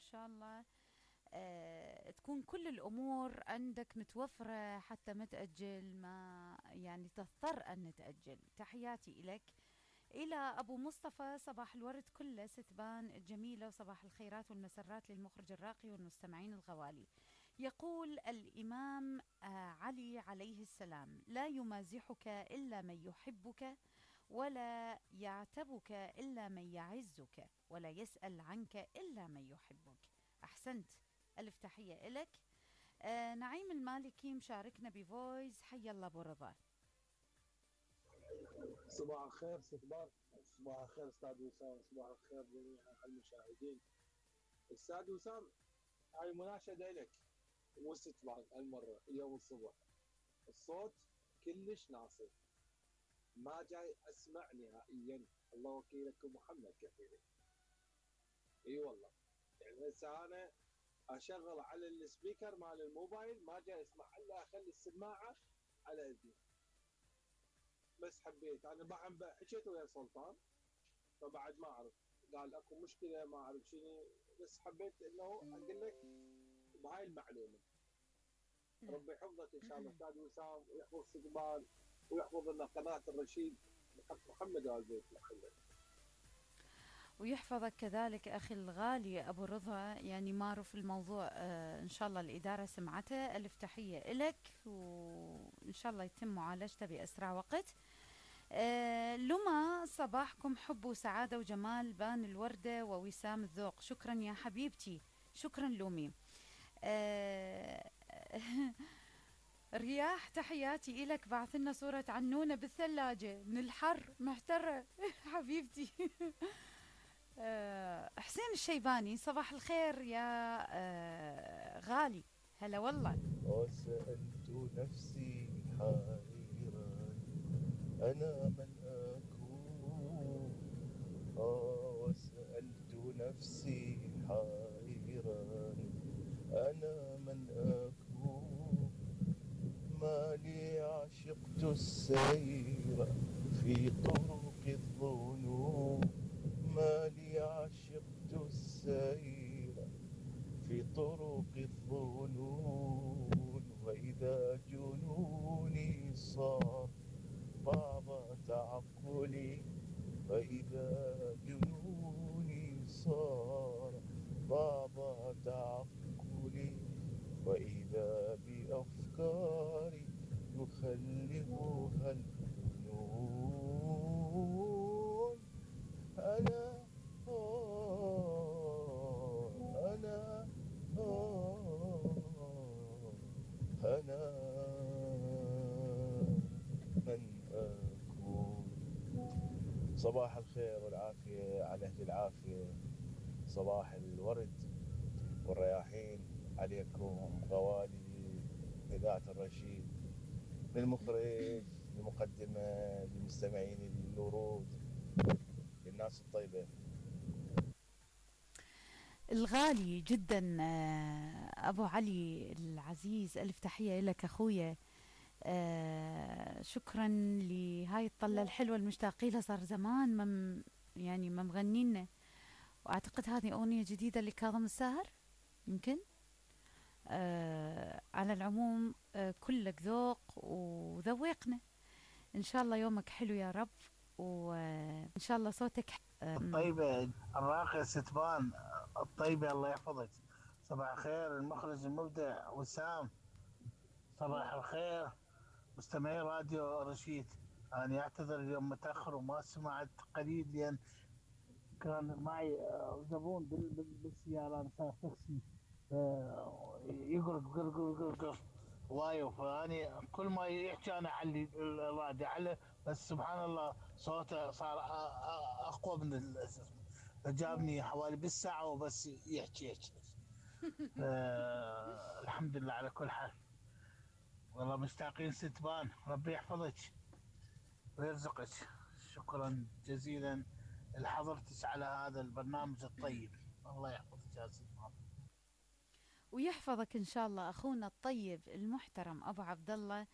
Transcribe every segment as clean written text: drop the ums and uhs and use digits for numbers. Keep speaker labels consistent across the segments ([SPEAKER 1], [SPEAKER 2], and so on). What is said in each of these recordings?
[SPEAKER 1] شاء الله تكون كل الأمور عندك متوفرة حتى ما تأجل، ما يعني تضطر أن تأجل. تحياتي إلك. إلى أبو مصطفى، صباح الورد كله ستبان الجميلة، وصباح الخيرات والمسرات للمخرج الراقي والمستمعين الغوالي. يقول الإمام علي عليه السلام: لا يمازحك إلا من يحبك، ولا يعتبك إلا من يعزك، ولا يسأل عنك إلا من يحبك. أحسنت، ألف تحية إلك. نعيم المالكي مشاركنا بفويس. حي الله أبو رضا.
[SPEAKER 2] صباح الخير ست بار، صباح الخير استاذ وسام، صباح الخير جميع المشاهدين. استاذ وسام، هاي مناشدة لك مو ست بار هالمرة. اليوم الصبح الصوت كلش ناصب، ما جاي اسمع نهائيا. الله وكيلك محمد كفيلي. اي والله، يعني هسه انا اشغل على السبيكر مال الموبايل ما جاي اسمع الا اخلي السماعه على اذني. بس حبيت انا بعد حكيت ويا سلطان، فبعد ما اعرف قال اكو مشكله ما اعرف شنو، بس حبيت انه اقول لك بهاي المعلومه. ربي يحفظك ان شاء الله استاذ وسام، ويحفظ استقبال، ويحفظ لنا قناه الرشيد بحق محمد وال بيت محمد.
[SPEAKER 1] ويحفظك كذلك أخي الغالي أبو رضا، يعني معروف الموضوع. إن شاء الله الإدارة سمعته. ألف تحية إلك، وإن شاء الله يتم معالجته بأسرع وقت. لما صباحكم حب وسعادة وجمال، بان الوردة ووسام الذوق. شكرا يا حبيبتي، شكرا لومي. رياح، تحياتي إلك. بعث لنا صورة عنونة بالثلاجة من الحر، محترة حبيبتي. حسين الشيباني، صباح الخير يا غالي. هلا والله.
[SPEAKER 3] وسألت نفسي حائرا أنا من أكون. وسألت نفسي حائرا أنا من أكون. ما لي عشقت السير في طرق الظنون. ما لي عشقت السير في طرق الظنون. وإذا جنوني صار بعض تعقلي. وإذا جنوني صار بعض تعقلي. وإذا بأفكاري يخلفها الجنون. أنا أنا أنا من أكون. صباح الخير والعافية على أهل العافية، صباح الورد والرياحين عليكم غوالي إذاعة الرشيد، للمخرج، للمقدمة، للمستمعين الورود، للناس الطيبة.
[SPEAKER 1] الغالي جدا أبو علي العزيز، ألف تحية لك أخويا. شكرا لهاي الطلة الحلوة المشتاقين لها، صار زمان يعني ما مغنينا. وأعتقد هذه أغنية جديدة لكاظم الساهر يمكن. على العموم كلك ذوق وذوقنا. إن شاء الله يومك حلو يا رب، وإن شاء الله صوتك
[SPEAKER 4] الطيبة الراقية ستبان الطيبة، الله يحفظك. صباح الخير المخرج المبدع وسام، صباح الخير مستمعي راديو رشيد. أنا أعتذر اليوم متأخر وما سمعت قليل، لأن كان معي زبون بالسيارة، أنا سائق تاكسي يقرق قرق قرق قرق وايو، فاني كل ما يحكي انا اعلي الراديو على، بس سبحان الله صوته صار اقوى من فجابني حوالي بالساعه وبس يحكي. الحمد لله على كل حال. والله مشتاقين ستبان، ربي يحفظك ويرزقك. شكرا جزيلا لحضرتك على هذا البرنامج الطيب، الله يحفظك يا ستبان.
[SPEAKER 1] ويحفظك إن شاء الله أخونا الطيب المحترم أبو عبد الله.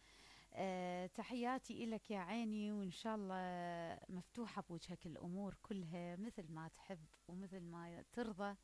[SPEAKER 1] تحياتي إلك يا عيني، وإن شاء الله مفتوحة بوجهك الأمور كلها مثل ما تحب ومثل ما ترضى.